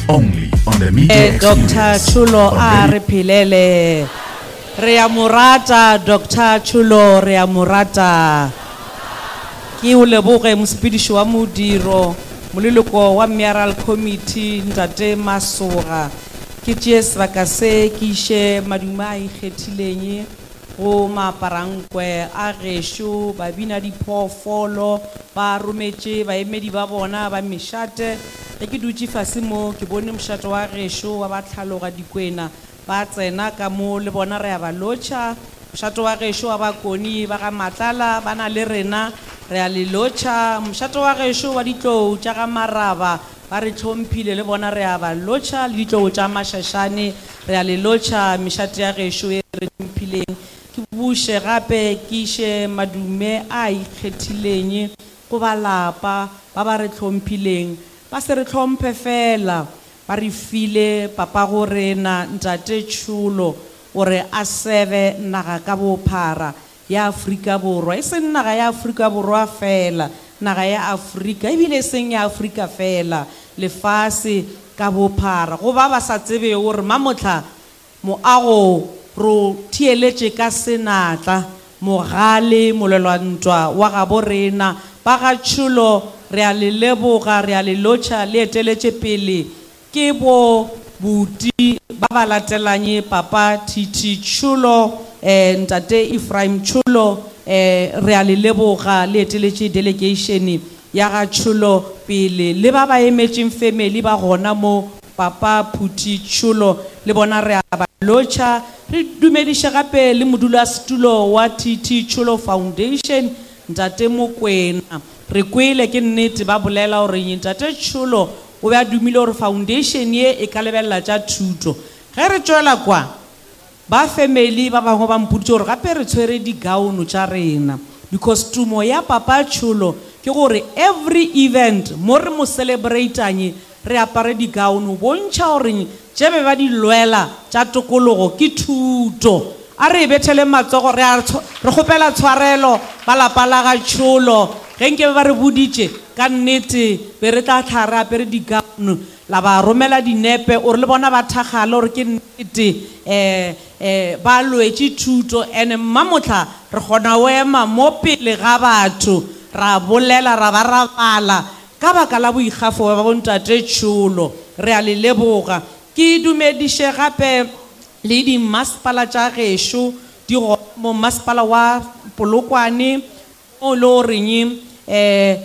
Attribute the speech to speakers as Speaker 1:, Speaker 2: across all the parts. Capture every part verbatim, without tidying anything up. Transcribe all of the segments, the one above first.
Speaker 1: Only on the Media
Speaker 2: Eh, Doctor
Speaker 1: Experience.
Speaker 2: Tšholo
Speaker 1: on
Speaker 2: a
Speaker 1: Radio
Speaker 2: re phelele. Re a mo rata Doctor Tšholo, re a mo rata. Ke o leboge mosepediši wa modiro, moleloko wa Mayoral Committee Ntate Masoga. Ke tšee sebaka se ke iše madume a ikgethileng go maaparankwe a gešo, babina diphoofolo ba rometše baemedi ba bona ba mešate. Ge ke dutše fase mo ke bone mošate wa gešo wa ba tlhaloga dikwena ba tsena ka mo le bona re a ba lotšha. Mošate wa gešo wa bakoni ba ga Matlala ba na le rena, re a le lotšha. Mošate wa gešo wa ditlou tša ga Maraba ba re hlomphile le bona re a ba lotšha, le ditlou tša Mašašane re a le lotšha. Mešate ya gešo e re hlomphileng. Ke buše gape ke iše madume a ikgethileng go ba lapa ba ba re hlomphileng. Ba se re hlomphe fela, ba re file papa go rena Ntate Tšholo gore a sebe naga ka bophara ya Afrika Borwa, e seng naga ya Afrika Borwa fela, naga ya Afrika ebile e seng ya Afrika fela, lefase ka bophara. Go ba ba sa tsebe gore mamohla moago ro theeletše ka senatla mogale molelwantwa wa gabo rena ba ga Tšholo, re a le leboga, re a le lotšha, le eteletše pele ke bo buti ba ba latelanye papa T T Tšholo, eh, Ntate Ephraim Tšholo, eh, re a le leboga, le eteletše delegation ya ga Tšholo pele, le ba ba emetšeng family ba gona mo papa Phuti Tšholo le bona re a ba lotšha. Re dumediše gape le modulasetulo wa T T Tšholo Foundation Ntate Mokwena. Re kwele ke nnete ba bolela gore Ntate Tšholo o be a dumile gore foundation ye e ka lebelela tša thuto. Ge re tšwela kwa ba family ba bangwe ba mpoditše gore gape re tshwere di-gown tša rena, because tumo ya papa Tšholo ke gore every event mo re mo celebrate-ang re apare di-gown, o bontšha gore tše be ba di lwela tša tokologo ke thuto. A re e bethele matsogo, re a tshwa-, re kgopela tshwarelo ba lapa la ga Tšholo ge nke ba re boditše ka nnete be re tla tlha re apere di-gown, la ba romela dinepe ore le bona ba thakgale gore ke nnete, eh, eh, ba lwetše thuto. Ene mmamohla re kgona go ema mo pele ga batho ra bolela ra ba ra bala ka baka la boikgafo ba bontate Tšholo, re a le leboga. Ke dumediše gape le dimmasepala tša gešo di gona mo mmasepala wa Polokwane o le goreng, eh,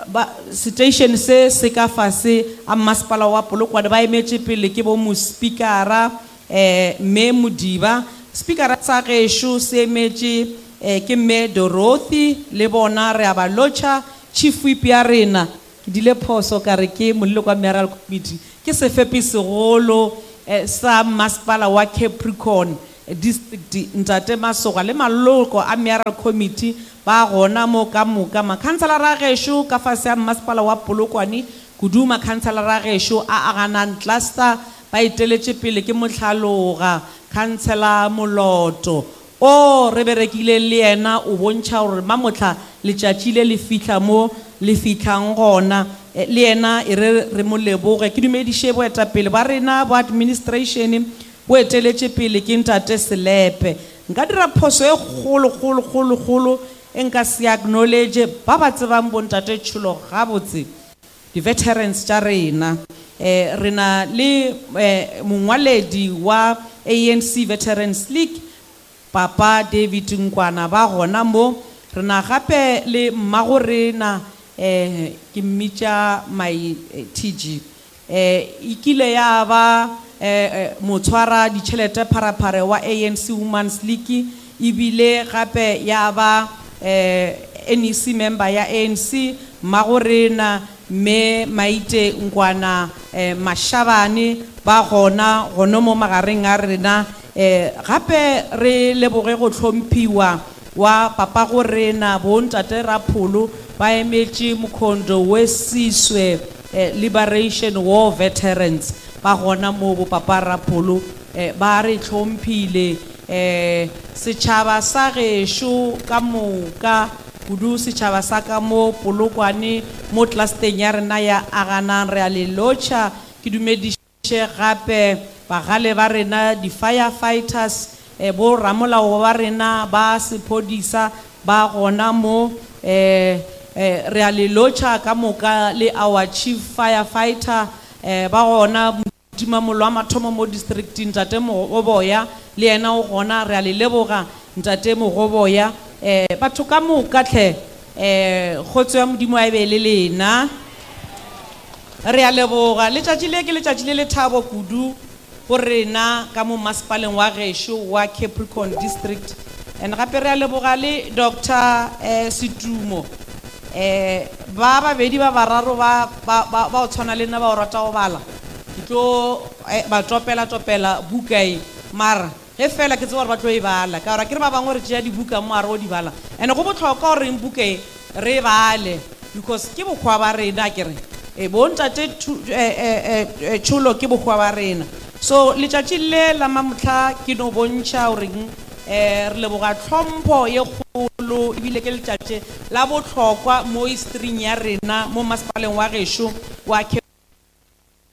Speaker 2: ba, station se se ka fase a mmasepala wa Polokwane ba emetše pele ke bo mospikara, eh, mme Modiba. Spikara sa gešo se emetše, eh, ke mme Dorothy, le bona re a ba lotšha. Chief Whip ya rena, ke dile phoso ka re ke moleloko wa Mayoral Committee, ke sefepi segolo, eh, sa mmasepala wa Capricorn District Ntate Masoga le maloko a Mayoral Committee ba gona mo ka moka. Makhanselara a gešo ka fase a mmasepala wa Polokwane, kudu makhanselara a gešo a Aganang Cluster ba eteletše pele ke mohlaloga Councillor Moloto o re berekile le yena, o bontšha gore mamohla letšatši le le fihla mo le fihlang gona. Eh, le yena e re re mo leboge. Ke dumediše boetapele ba rena bo administration bo eteletše pele ke Ntate Selepe. Nka dira phoso e kgolo, kgolo, kgolo, kgolo e nka se acknowledge ba ba tsebang bo Ntate Tšholo gabotse, di-veterans tša rena. Eh, re na le, eh, mongwaledi wa A N C Veterans League Papa David Nkwana ba gona mo. Re na gape le mmago rena, eh, ke mmitša my, eh, T G. Eh, e kile ya ba, eh, eh, motshwara ditšhelete pharapare wa A N C Women's League, ebile gape ya ba, eh, N E C member ya A N C. Mmago rena mme Maite Nkwana, eh, Mashabane ba gona gona mo magareng a rena. Eh, gape re leboge go hlomphiwa wa papa go rena bo Ntate Rapholo ba emetše Mkhondo we Siswe, eh, Liberation War Veterans ba gona mo bo papa Rapholo, eh, ba re hlomphile. Eh, setšhaba sa gešo ka moka, kudu setšhaba sa ka mo Polokwane mo clusteng ya rena ya Aganang, re a le lotšha. Ke dumediše dumediše gape bagale ba rena di-firefighters, eh, bo ramolao ba rena ba sephodisa ba gona mo, eh, eh, re a le lotšha ka moka le our chief firefighter, eh, ba gona motimamollo wa mathomo mo districting Ntate Mogoboya, le yena o gona, re a le leboga Ntate Mogoboya. Eh, batho ka moka tlhe, eh, kgotso ya Modimo a e be le lena. Re a leboga. Letšatši le ke letšatši le lethabo kudu go rena ka mo masepaleng wa gešo wa Capricorn District. And gape re a leboga le Doctor, eh, Setumo. Eh, ba babedi ba bararo ba, ba, ba, ba o tshwana le nna ba o rata go bala. Ke tlo, eh, ba topela topela buka e. Mara ge fela ke tseba gore ba tlo e bala, ka gore akere ba bangwe re tšea dibuka mo a re o di bala. And go bohlokwa gore buka e re e bale, because ke bohwa ba rena, akere. E, bo ntate Thu-, eh, eh, eh, eh, Tšholo ke bohwa ba rena. So letšatši le la mamohla ke no bontšha goreng, eh, re leboga tlhompho ye kgolo, ebile ke letšatši la bohlokwa mo historing ya rena mo masepaleng wa gešo wa